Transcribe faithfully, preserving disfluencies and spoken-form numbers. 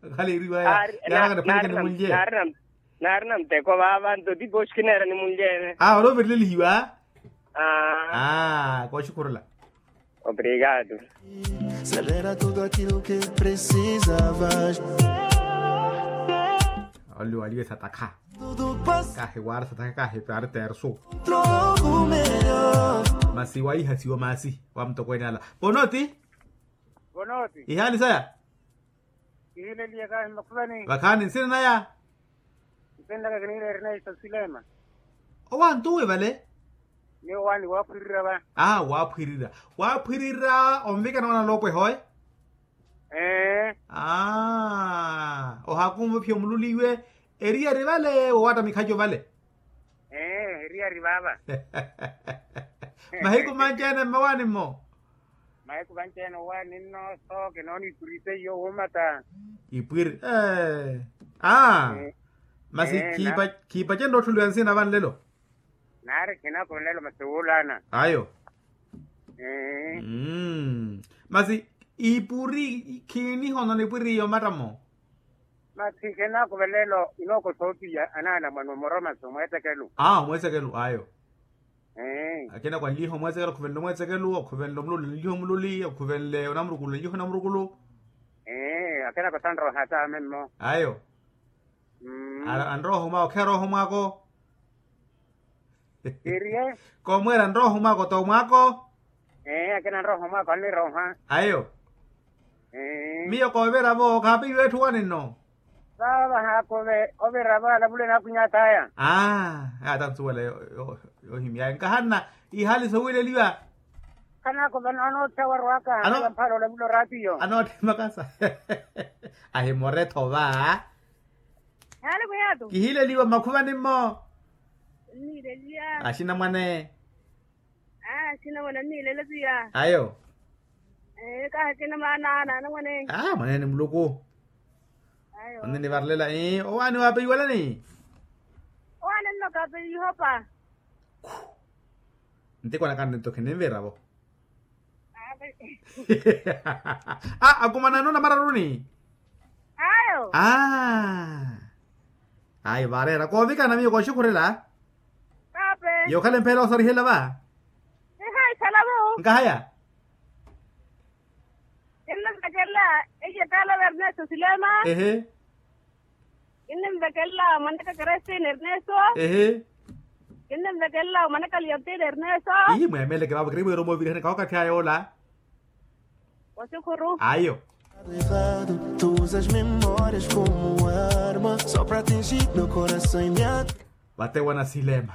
Okhala eriwaya. Naarina nteko vaava nto tipo oxikineera ni munlyeene. Aa oloverilelihiwa. Aa kooxikhurela. Obrigado. Celera tudo aquilo que precisavas. Oliwaliwe satakha. Kahiwaara satakha kahipaari tersu. Masi waihasiwa masi wa mutokweene ala. Ponoti. Ihaali saya. Kihileliye kahi mmakhuvani. Vakhaani nsina naya. Nsina naka kiniileerina isa silema. Owantuwe vale. Ni owaani waaphwirira va. Aa waaphwirira. Waaphwirira onvikana wanaloopweha oye. Ee. Aa ohakumva ophiya omululi iwe. Eriyari vale woowatta mikhaco vale. Ee eriyari vaava. Mahiku manci-ene mmawaani-mmo. Mahiku manci-ene owaani nno sooke noona ipwiri seiyo wuumata. Ipwiri ee. Aa masi. Khiipacenrye ottholiwa nsina vanlelo. Naari khinako nlelo masi wuulaana. Ayo. Mmm masi ipuri khiinihonona ipuri iyo matta-mo. Masi khenako velelo inooko soopiya anaana mwana omoroma masi omweetekelu. Aa omweetekelu ayo. Akhenako anliiha omweetekelu okhuvenle omweetekelu okhuvenle omululi anliiha omululi okhuvenle onamurukulu anliiha onamurukulu. Akhenako sanrooha taame mmo. Ayo. Anrooha omwaako kheerooha omwaako. Iriye. Koomweera nrooha omwaako t'omwaako. Ee akina nrooha omwaako annirooha. Ayo. Miyo koovira-vo khaapeiwe etthu waninno. Vaava vahaakuve. Ovira-vo alavule naakhwiny'at'aya. Aa ata nsuwela yohimy'aya nkahanna. Ihaali sowiileliwa. Khanaakuve noona otthawarw'aka. Mphaala olavula oraatiyo. Anootthi makasa. Ahimore-tho va. Haali khwiyaatu. Kihileliwa mmakhuvani-mmo. Axinamwane. Axinamwane anniilele piya. Ayo. Kaahikina maana anamwane. Mwaneene muluku. Onnivarelela. Owaani waapeiwelani. Owaani nno kaapeihopa. Ntikwana kanne nto khinimviravo. Akumanano namararuni. Ayo. Ayo vaareera koovikana miyo kooxikhurela. Yookhala empheela osarihela va. Nkahaya. Kinnimvekela. Eye taala verneso silema. Ehe. Kinnimvekela mwanaka kerestine erneso. Ehe. Kinnimvekela mwanaka liotine erneso. Ii mweemeleke vaavo kiriwera omovirihani kahokathi aya ola. Wasukhuru ayo. Vatewena silema.